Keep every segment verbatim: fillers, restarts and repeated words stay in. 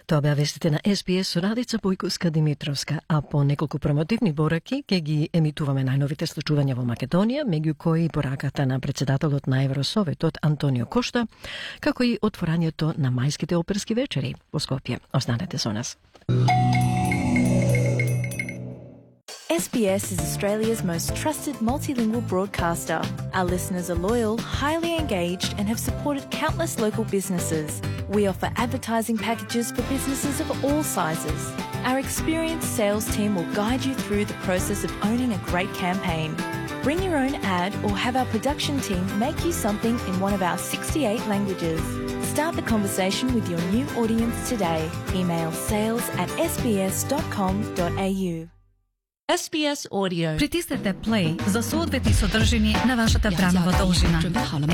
Тоа беа вестите на Ес Би Ес со Радица Бојковска-Димитровска, а по неколку промотивни пораки ќе ги емитуваме најновите случувања во Македонија, меѓу кои пораката на председателот на Евросоветот Антонио Кошта, како и отворањето на мајските оперски вечери во Скопје. Останете со нас. S B S is Australia's most trusted multilingual broadcaster. Our listeners are loyal, highly engaged, and have supported countless local businesses. We offer advertising packages for businesses of all sizes. Our experienced sales team will guide you through the process of owning a great campaign. Bring your own ad or have our production team make you something in one of our sixty-eight languages. Start the conversation with your new audience today. Email sales at s b s dot com dot a u. Ес Би Ес Audio. Притиснете play за соодветни содржини на вашата бранова должина.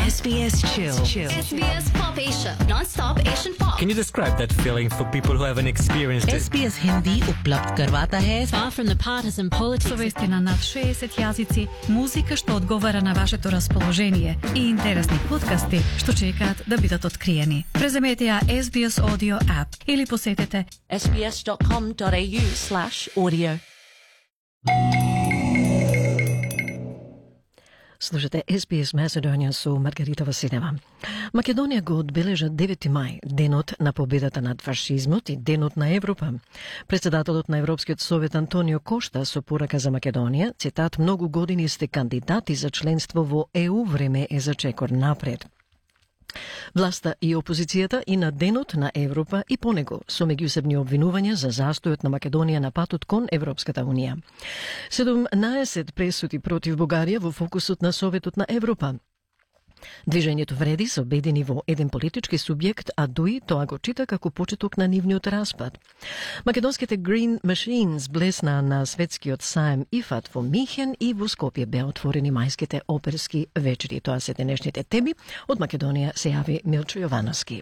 Ес Би Ес Chill. S B S Pop Asia, non-stop Asian pop. Can you describe that feeling for people who haven't experienced it? Ес Би Ес Hindi उपलब्ध करवाता है far from the partisan politics. Со вести на над шеесет јазици, музика што одговара на вашето расположение и интересни подкасти што чекаат да бидат откриени. Преземете ја Ес Би Ес Audio app или посетете s b s dot com dot a u slash audio. Слушате Ес Би Ес Macedonian со Маргарита Василева. Македонија го одбележа девети мај, денот на победата над фашизмот и денот на Европа. Председателот на Европскиот совет Антонио Кошта со порака за Македонија, цитат: "Многу години сте кандидати за членство во Е У, време е за чекор напред." Власта и опозицијата и на денот на Европа и по него со меѓусебни обвинувања за застојот на Македонија на патот кон Европската унија. седумнаесет пресуди против Бугарија во фокусот на Советот на Европа. Движењето вреди се обедини во еден политички субјект, а ДУИ тоа го чита како почеток на нивниот распад. Македонските Green Machines блесна на светскиот саем ИФАТ во Михен и во Скопје беа отворени мајските оперски вечери. Тоа се денешните теми. Од Македонија се јави Милчо Јовановски.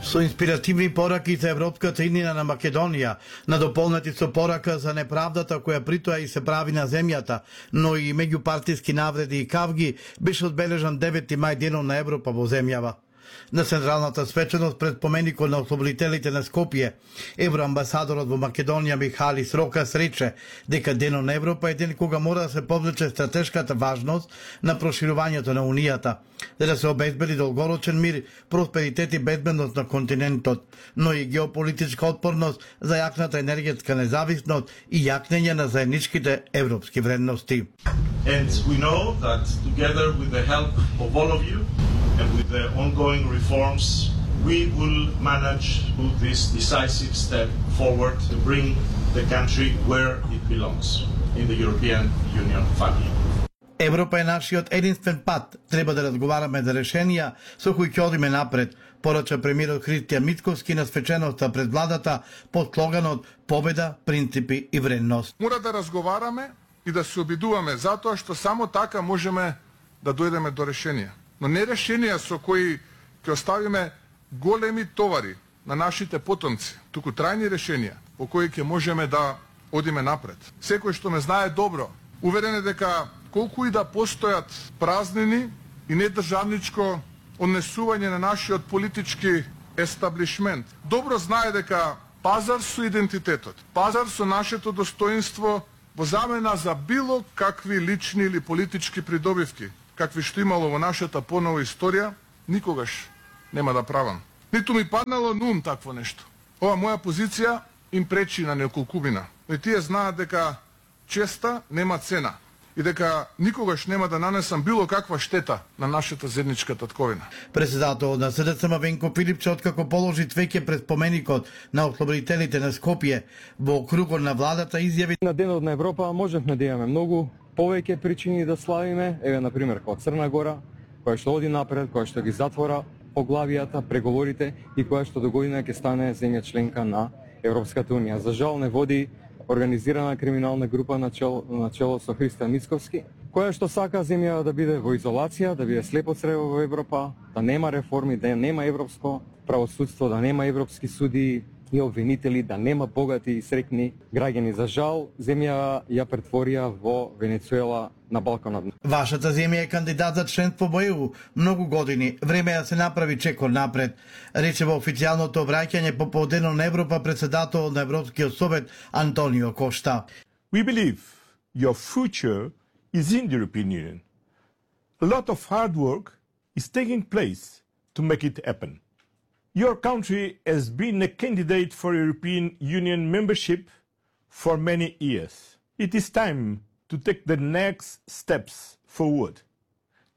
Со инспиративни пораки за Европската иднина на Македонија, надополнати со порака за неправдата која притоа и се прави на земјата, но и меѓупартиски навреди и кавги, беше одбележан девети мај, денот на Европа во земјава. На централната свеченост пред поменикот на ослободителите на Скопје, евроамбасадорот во Македонија Михалис Рокас рече дека денот на Европа е ден кога мора да се повлече стратешката важност на проширувањето на Унијата, за да се обезбеди долгорочен мир, просперитет и безбедност на континентот, но и геополитичка отпорност за јакната енергетска независност и јакнење на заедничките европски вредности. And we know that together with the help of all of you and with the ongoing reforms, we will manage to this decisive step forward to bring the country where it belongs, in the European Union family. Европа е нашиот единствен пат. Треба да разговараме за решенија со кои ќе одиме напред, порача премиерот Христијан Мицковски на свеченоста пред владата под слоганот "Победа, принципи и вредност". Мора да разговараме и да се обидуваме, затоа што само така можеме да дојдеме до решенија. Но не решенија со кои ќе оставиме големи товари на нашите потомци, туку трајни решенија по кои ќе можеме да одиме напред. Секој што ме знае добро, уверен е дека колку и да постојат празнини и недржавничко однесување на нашиот политички естаблишмент, добро знае дека пазар со идентитетот, пазар со нашето достоинство во замена за било какви лични или политички придобивки, какви што имало во нашата понова историја, никогаш нема да правам. Ниту ми паднало на ум такво нешто. Ова моја позиција им пречи на неколкумина. Но и тие знаат дека честа нема цена и дека никогаш нема да нанесам било каква штета на нашата заедничка татковина. Председателот на С Д С М Венко Филипче, откако положи цвеќе пред споменикот на ослободителите на Скопје во кругот на владата, изјави: "На денот на Европа можевме да имаме многу повеќе причини да славиме, еве на пример како Црна Гора, која што оди напред, која што ги затвора поглавијата, преговорите и која што до година ќе стане земја членка на Европската унија. За жал не води организирана криминална група на чело, на чело со Христијан Мицковски, која што сака земја да биде во изолација, да биде слепо црево во Европа, да нема реформи, да нема европско правосудство, да нема европски суди, и обвинители да нема богати и среќни граѓани. За жал, земја ја претворија во Венецуела на Балканот. Вашата земја е кандидат за членство во Е У многу години. Време е да се направи чекор напред, рече во официјалното обраќање по поводено на Европа председател на Европскиот совет Антонио Кошта. We believe your future is in the European Union. A lot of hard work is taking place to make it happen. Your country has been a candidate for European Union membership for many years. It is time to take the next steps forward.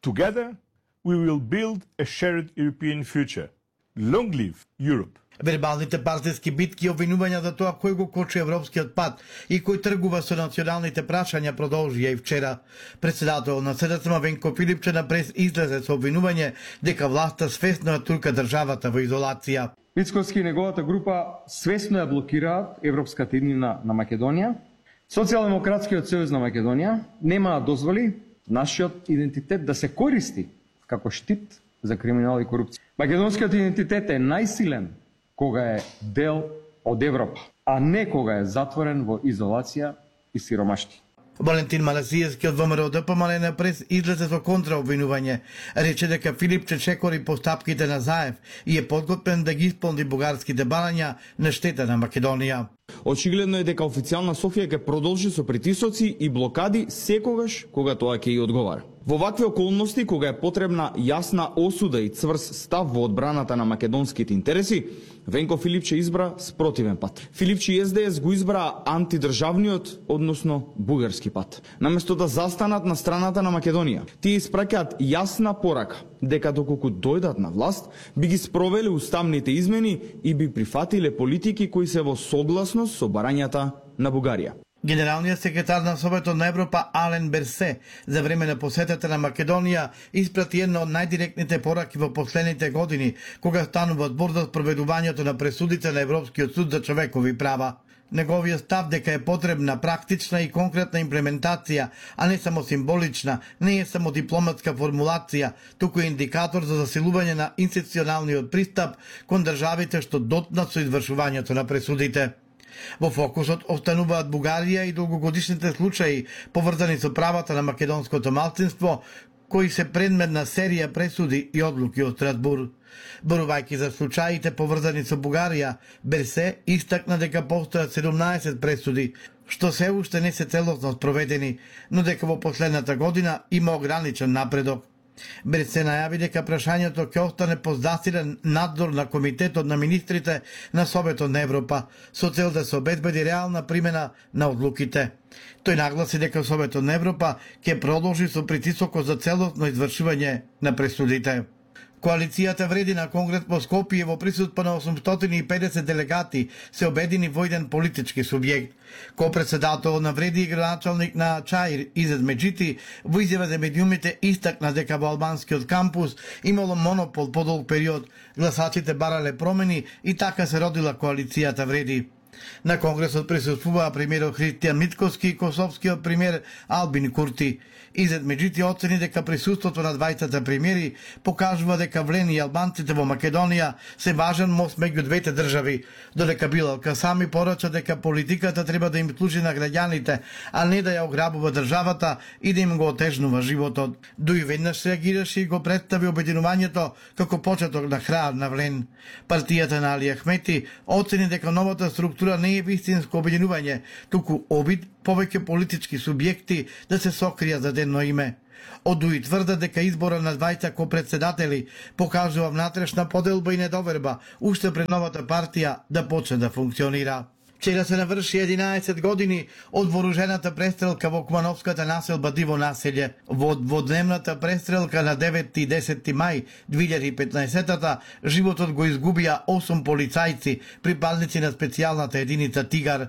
Together, we will build a shared European future. Long live Europe! Вербалните партиски битки и обвинувања за тоа кој го кочи европскиот пат и кој тргува со националните прашања продолжија и вчера. Председател на С Д С М Венко Филипче на прес излезе со обвинување дека власта свесно ја турка државата во изолација. Мицкоски и неговата група свесно ја блокираат европската иднина на Македонија. Социјалдемократскиот сојуз на Македонија нема да дозволи нашиот идентитет да се користи како штит за криминал и корупција. Македонскиот идентитет е најсилен кога е дел од Европа, а не кога е затворен во изолација и сиромашти. Валентин Маласиевски од Вэ М Р Д П М Л Н прес излезе со контраобвинување. Рече дека Филипче чекори постапките на Заев и е подготвен да ги исполни бугарските барања на штета на Македонија. Очигледно е дека официјална Софија ќе продолжи со притисоци и блокади секогаш кога тоа ќе ја одговара. Во вакви околности, кога е потребна јасна осуда и цврст став во одбраната на македонските интереси, Венко Филипче избра спротивен пат. Филипче и С Д С го избра антидржавниот, односно бугарски пат. Наместо да застанат на страната на Македонија, тие испраќаат јасна порака дека доколку дојдат на власт, би ги спровеле уставните измени и би прифатиле политики кои се во согласност со барањата на Бугарија. Генералниот секретар на Советот на Европа Ален Берсе за време на посетата на Македонија испрати една од најдиректните пораки во последните години, кога станува збор за спроведувањето на пресудите на Европскиот суд за човекови права. Неговиот став дека е потребна практична и конкретна имплементација, а не само символична, не е само дипломатска формулација, туку е индикатор за засилување на институционалниот пристап кон државите што дотнат со извршувањето на пресудите. Во фокусот остануваат Бугарија и долгогодишните случаи поврзани со правата на македонското малцинство, кои се предмет на серија пресуди и одлуки од Страсбур. Борувајќи за случаите поврзани со Бугарија, Берсе истакна дека постојат седумнаесет пресуди, што се уште не се целосно спроведени, но дека во последната година има ограничен напредок. Берсе најави дека прашањето ќе остане под засилен надзор на Комитетот на министрите на Советот на Европа, со цел да се обезбеди реална примена на одлуките. Тој нагласи дека Советот на Европа ќе продолжи со притисокот за целосно извршување на пресудите. Коалицијата Вреди на Конгрес во Скопје во присуство на осумстотини и педесет делегати се обедини во еден политички субјект. Ко-председател на Вреди и градоначалник на Чаир Изет Меджити во изјава за медиумите истакна дека во албанскиот кампус имало монопол по долг период, гласачите барале промени и така се родила коалицијата Вреди. На Конгресот присуствуваа премиерот Христијан Мицкоски и косовскиот премиер Албин Курти. Изет Меджити оцени дека присуството на двајцата премиери покажува дека влени и албанците во Македонија се важен мост меѓу двете држави, додека Билал Касами порача дека политиката треба да им служи на граѓаните, а не да ја ограбува државата и да им го отежнува животот. Дуј веднаш реагираше и го представи обединувањето како почеток на крај на влен. Партијата на Али Ахмети оцени дека новата структура не е вистинско обединување, туку обид повеќе политички субјекти да се сокријат за едно име. Одуи тврда дека избора на двајца ко-председатели покажува внатрешна поделба и недоверба уште пред новата партија да почне да функционира. Вчера се наврши единаесет години од вооружената престрелка во Кумановската населба Диво населје. Во дводневната престрелка на деветти и десети мај две илјади и петнаесета животот го изгубија осум полицајци, припадници на специјалната единица Тигар,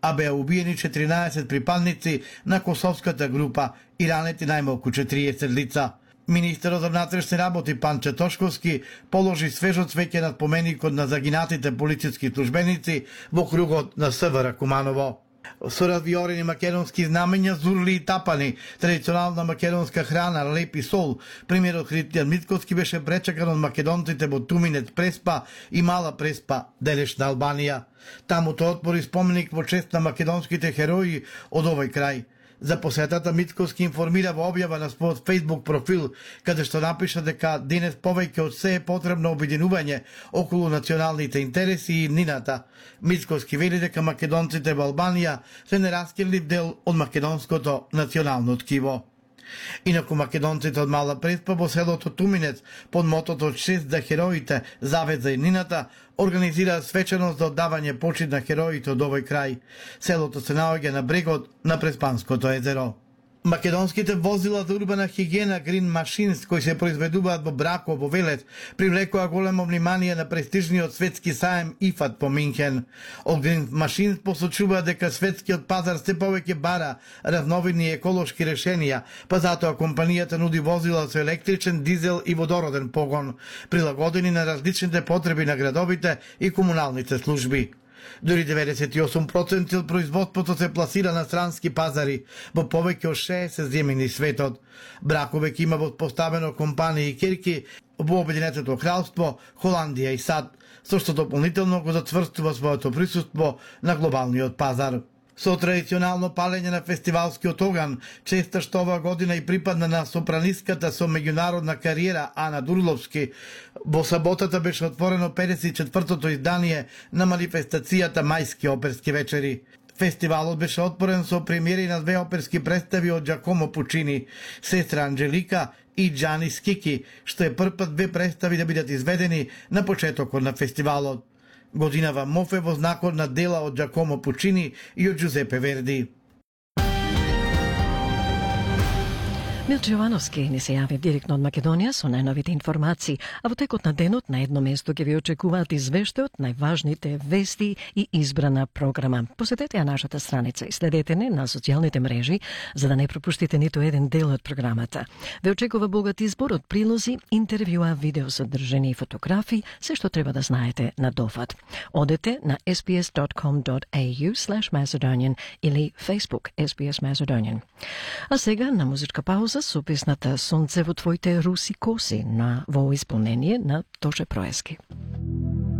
а беа убиени четиринаесет припадници на косовската група и ранети најмалку четириесет лица. Министерот за внатрешни работи Панче Тошковски положи свежо цвеќе над поменикот на загинатите полициски службеници во кругот на С В Р Куманово. Со развиорени македонски знамења, зурли и тапани, традиционална македонска храна, леп и сол. Премиерот Христијан Мицкоски беше пречекан од македонците во Туминец Преспа и Мала Преспа, делешна Албанија. Таму тој отвори споменик во чест на македонските херои од овој крај. За посетата Мицкоски информира во објава на својот Facebook профил, каде што напиша дека денес повеќе од се е потребно обединување околу националните интереси и иднината. Мицкоски вели дека македонците во Албанија се нераскинлив дел од македонското национално ткиво. Инаку македонците од Мала Преспа во селото Туминец под мотото шест за хероите, завет за иднината, организираат свечаност за оддавање почит на хероите од овој крај. Селото се наоѓа на брегот на Преспанското езеро. Македонските возила за урбана хигиена Green Machines, кои се произведуваат во Брако, во Велес, привлекоа големо внимание на престижниот светски саем ай эф ей по Минхен. Од Green Machines посочуваат дека светскиот пазар се повеќе бара разновидни еколошки решенија, па затоа компанијата нуди возила со електричен, дизел и водороден погон, прилагодени на различните потреби на градовите и комуналните служби. Дури деветдесет и осум проценти од производството се пласира на странски пазари во повеќе од шеесет земји низ светот. Брако веќе има воспоставено компании и керки во Обединетото кралство, Холандија и САД, со што дополнително го зацврстува своето присуство на глобалниот пазар. Со традиционално палење на фестивалскиот оган, честа што оваа година и припадна на сопранистката со меѓународна кариера Ана Дурловски, во саботата беше отворено педесет и четвртото издание на манифестацијата Мајски оперски вечери. Фестивалот беше отворен со премиери на две оперски представи од Джакомо Пучини, Сестра Анджелика и Джани Скики, што е првпат две представи да бидат изведени на почетокот на фестивалот. Годинава Мофе во знакот на дела од Джакомо Пучини и од Джузепе Верди. Милче Јовановски ни се јави директно од Македонија со најновите информации, а во текот на денот на едно место ќе ви очекуваат извештај од најважните вести и избрана програма. Посетете ја нашата страница и следете не на социјалните мрежи за да не пропуштите ниту еден дел од програмата. Ве очекува богат избор од прилози, интервјуа, видео содржини и фотографии, се што треба да знаете на дофат. Одете на ес би ес dot com dot a u slash macedonian или Facebook ес би ес Macedonian. А сега на музичка пауза со песната Сонце во твоите руси коси на во исполнение на Тоше Проески.